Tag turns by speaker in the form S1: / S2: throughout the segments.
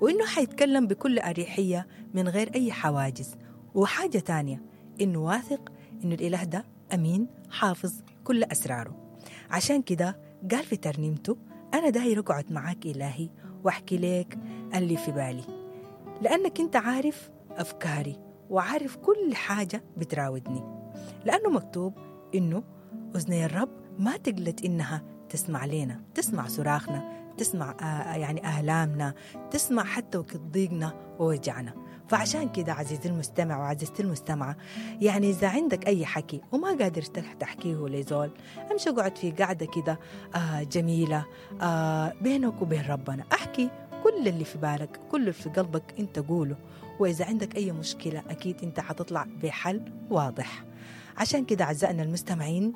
S1: وإنه حيتكلم بكل أريحية من غير أي حواجز. وحاجة تانية إنه واثق إنه الإله ده أمين حافظ كل أسراره. عشان كده قال في ترنيمته أنا داير أقعد معاك إلهي وأحكي لك اللي في بالي، لأنك أنت عارف أفكاري وعارف كل حاجة بتراودني. لأنه مكتوب إنه أذني الرب ما تقلت إنها تسمع لنا، تسمع صراخنا، تسمع يعني آلامنا، تسمع حتى وقت ضيقنا ووجعنا. فعشان كده عزيزي المستمع وعزيزتي المستمعة، يعني إذا عندك أي حكي وما قادر تحكيه لزول، امشي اقعد في قعدة كده جميلة بينك وبين ربنا، احكي كل اللي في بالك، كل اللي في قلبك انت قوله. وإذا عندك أي مشكلة أكيد انت حتطلع بحل واضح. عشان كده أعزائنا المستمعين،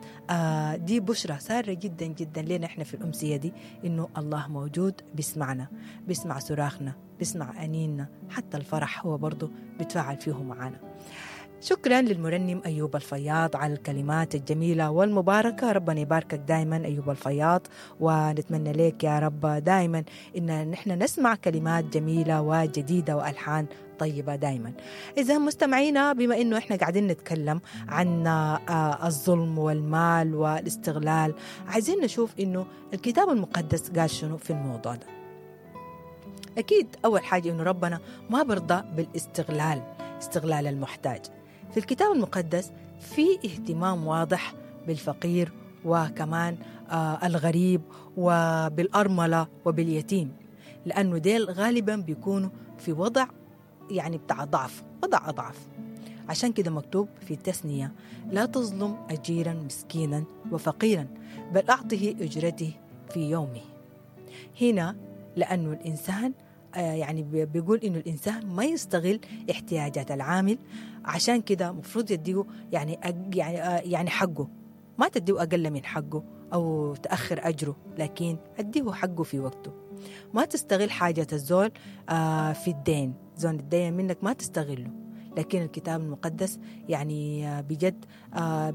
S1: دي بشرة سارة جدا جدا لنا احنا في الأمسية دي، إنه الله موجود، بيسمعنا، بيسمع صراخنا، بيسمع أنيننا، حتى الفرح هو برضو بيتفاعل فيه معنا. شكرا للمرنم أيوب الفياض على الكلمات الجميلة والمباركة. ربنا يباركك دائما أيوب الفياض، ونتمنى لك يا رب دائما إن نحن نسمع كلمات جميلة وجديدة وألحان طيبة دائما. إذا مستمعينا، بما إنه إحنا قاعدين نتكلم عن الظلم والمال والاستغلال، عايزين نشوف إنه الكتاب المقدس قال شنو في الموضوع ده. أكيد أول حاجة إنه ربنا ما برضى بالاستغلال، استغلال المحتاج. في الكتاب المقدس في اهتمام واضح بالفقير وكمان الغريب وبالأرملة وباليتيم، لأنه ديل غالبا بيكونوا في وضع يعني بتاع ضعف، وضع أضعف. عشان كده مكتوب في التثنية لا تظلم أجيرا مسكينا وفقيرا، بل أعطه أجرته في يومه. هنا لأنه الإنسان يعني بيقول إنه الإنسان ما يستغل احتياجات العامل، عشان كده مفروض يديه يعني حقه، ما تديه أقل من حقه أو تأخر أجره، لكن أديه حقه في وقته. ما تستغل حاجة الزول في الدين، زول الدين منك ما تستغله. لكن الكتاب المقدس يعني بجد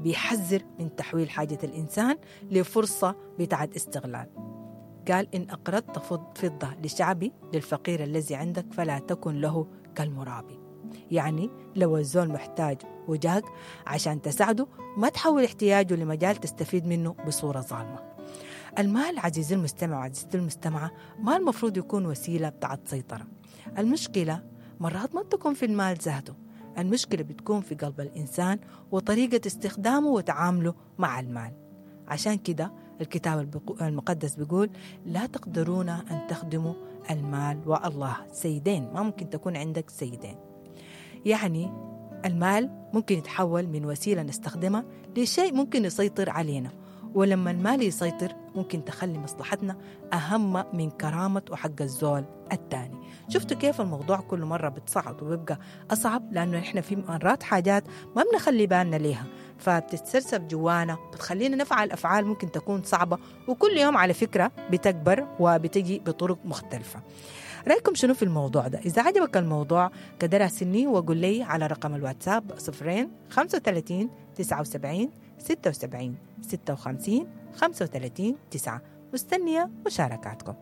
S1: بيحذر من تحويل حاجة الإنسان لفرصة بتاعت استغلال. قال إن أقرضت فضة لشعبي للفقير الذي عندك فلا تكن له كالمرابي. يعني لو الزول محتاج وجاك عشان تساعده، ما تحول احتياجه لمجال تستفيد منه بصورة ظالمة. المال عزيزي المستمع وعزيزتي المستمعة ما المفروض يكون وسيلة بتاعت سيطرة. المشكلة مرات ما تكون في المال ذاته، المشكلة بتكون في قلب الإنسان وطريقة استخدامه وتعامله مع المال. عشان كده الكتاب المقدس بيقول لا تقدرون أن تخدموا المال والله سيدين، ما ممكن تكون عندك سيدين. يعني المال ممكن يتحول من وسيلة نستخدمها لشيء ممكن يسيطر علينا، ولما المال يسيطر ممكن تخلي مصلحتنا أهم من كرامة وحق الزول الثاني. شفتوا كيف الموضوع كل مرة بتصعد وبيبقى أصعب، لأنه إحنا في مرات حاجات ما بنخلي بالنا ليها، فبتتسرسب جوانا، بتخلينا نفعل أفعال ممكن تكون صعبة، وكل يوم على فكرة بتكبر وبتجي بطرق مختلفة. رأيكم شنو في الموضوع ده؟ إذا عجبك الموضوع كده راسلني وقول لي على رقم الواتساب 0 35 79 76 56 35 9. مستنية مشاركاتكم.